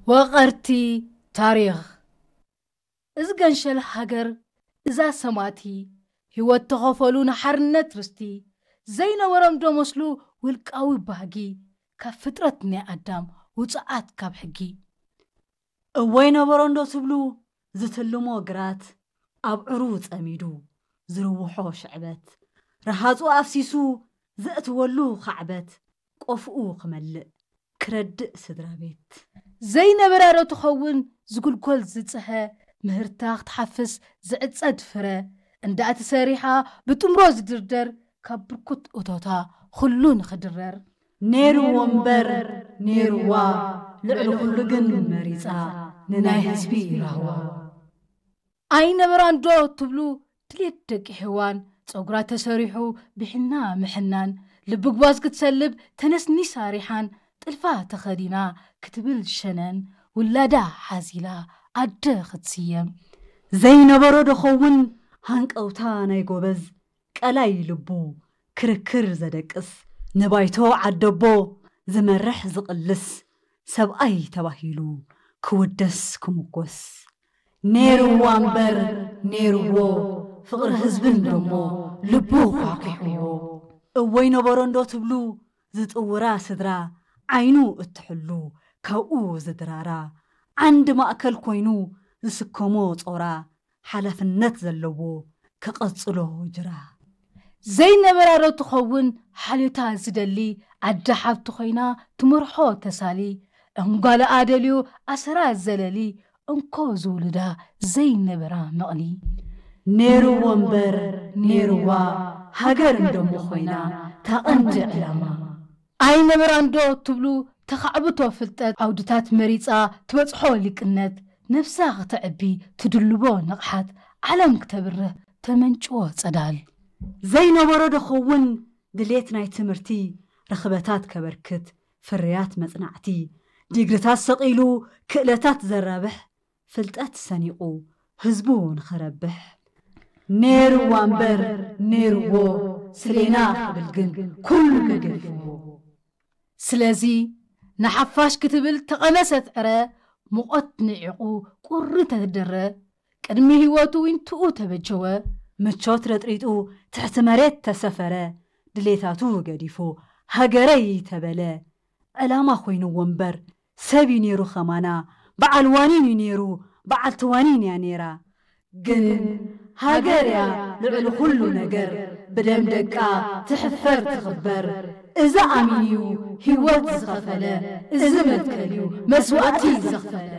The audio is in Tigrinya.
ወቐርቲ ታሪኽ። እዚ ገንሸል ሃገር፣ እዛ ሰማእቲ፣ ህይወት ተኸፈሉ ንሓርነት ርስቲ፣ ዘይነበሮም ዶ መስሉ ውልቃዊ ባህጊ፣ ካብ ፍጥረት ናይ ኣዳም ውጹዓት ካብ ሕጊ። እወይ ነበሮ እንዶ ትብሉ ዝትልሞ ግራት፣ ኣብ ዕሩ ጸሚዱ ዝርውሖ ሽዕበት፣ ረሃጹ ኣፍሲሱ ዘእትወሉ ኻዕበት፣ ቆፍኡ ክመልእ ክረድእ ስድራ ቤት። ዘይነበራ ዶ ትኸውን ዝጉልጎል ዝጽሀ፣ ምህርታ ክትሓፍስ ዝዕጸድ ፍረ፣ እንዳእቲ ሰሪሓ ብጥምሮ ዝድርደር ካብ ብርኩት እቶታ ኩሉ ንኽድረር። ነይርዎ እምበር ነይርዋ፣ ልዕሊ ኩሉ ግን መሪጻ ንናይ ህዝቢ ራህዋ። ኣይነበራን ዶ ትብሉ ድሌት ደቂ ሄዋን፣ ጸጉራ ተሰሪሑ ብሕና ምሕናን፣ ልቢ ጓዝ ክትሰልብ ተነስኒሳ ሪሓን፣ ጥልፋ ተኸዲና ክትብል ሸነን፣ ውላዳ ሓዚላ ኣደ ክትስየም። ዘይነበሮ ዶ ኸውን ሃንቀውታ ናይ ጎበዝ፣ ቀላይ ልቡ ክርክር ዘደቅስ፣ ንባይቶ ዓደቦ ዝመርሕ ዝቕልስ፣ ሰብኣይ ተባሂሉ ክውደስ ክምጎስ። ነይርዋ እምበር ነይርዎ፣ ፍቕሪ ህዝብን ደሞ ልቡ ኳኪሕዎ። እወይ ነበሮ እንዶ ትብሉ ዝጥውራ ስድራ፣ ዓይኑ እትሕሉ ካብኡ ዝድራራ፣ ዓንዲ ማእከል ኮይኑ ዝስከሞ ጾራ፣ ሓላፍነት ዘለዎ ክቐጽሎ ጅራ። ዘይነበራ ዶ ትኸውን ሓልዮታ ዝደሊ፣ ዓዲ ሓብቲ ኮይና ትመርሖ ተሳሊ፣ ዕንጓለኣ ደልዩ ኣሰራ ዘለሊ፣ እንኮ ዝውልዳ ዘይነበራ መቕሊ። ነይርዎ እምበር ነይርዋ፣ ሃገር እንደሞ ኮይና ታቐንዲ ዕላማ። ኣይነበራን ዶ ትብሉ ተኻዕብቶ ፍልጠት፣ ዓውድታት መሪጻ ትበጽሖ ሊቅነት፣ ነፍሳ ክተዕቢ ትድልቦ ንቕሓት፣ ዓለም ክተብርህ ተመንጭዎ ጸዳል። ዘይነበሮ ዶ ኸውን ድሌት ናይ ትምህርቲ፣ ርኽበታት ከበርክት፣ ፍርያት መጽናዕቲ፣ ዲግሪታት ሰቒሉ ክእለታት ዘራብሕ፣ ፍልጠት ሰኒቑ ህዝቡ ንኸረብሕ። ነይርዋ እምበር ነይርዎ፣ ስሌና ክብል ግን ኩሉ ገዲፍዎ። ስለዚ ንሓፋሽ ክትብል ተቐነሰት ዕረ፣ ሙቐት ንዒቑ ቁሪ ተደረ፣ ቅድሚ ህይወቱ ዊንትኡ ተበጀወ። ምቾት ረጥሪጡ ትሕቲ መሬት ተሰፈረ፣ ድሌታቱ ገዲፉ ሃገረይ ተበለ። ዕላማ ኮይንዎ እምበር ሰብ እዩ ነይሩ ኸማና፣ በዓል ዋኒን እዩ ነይሩ፣ በዓልቲ ዋኒን እያ ነይራ። ግን ሃገር እያ ልዕሊ ኩሉ ነገር፣ ብደም ደቃ ትሕፈር ትኽበር። እዚ ኣሚን እዩ ህይወት ዝኸፈለ፣ እዚ መትከል እዩ መስዋእቲ ዘኽፈለ።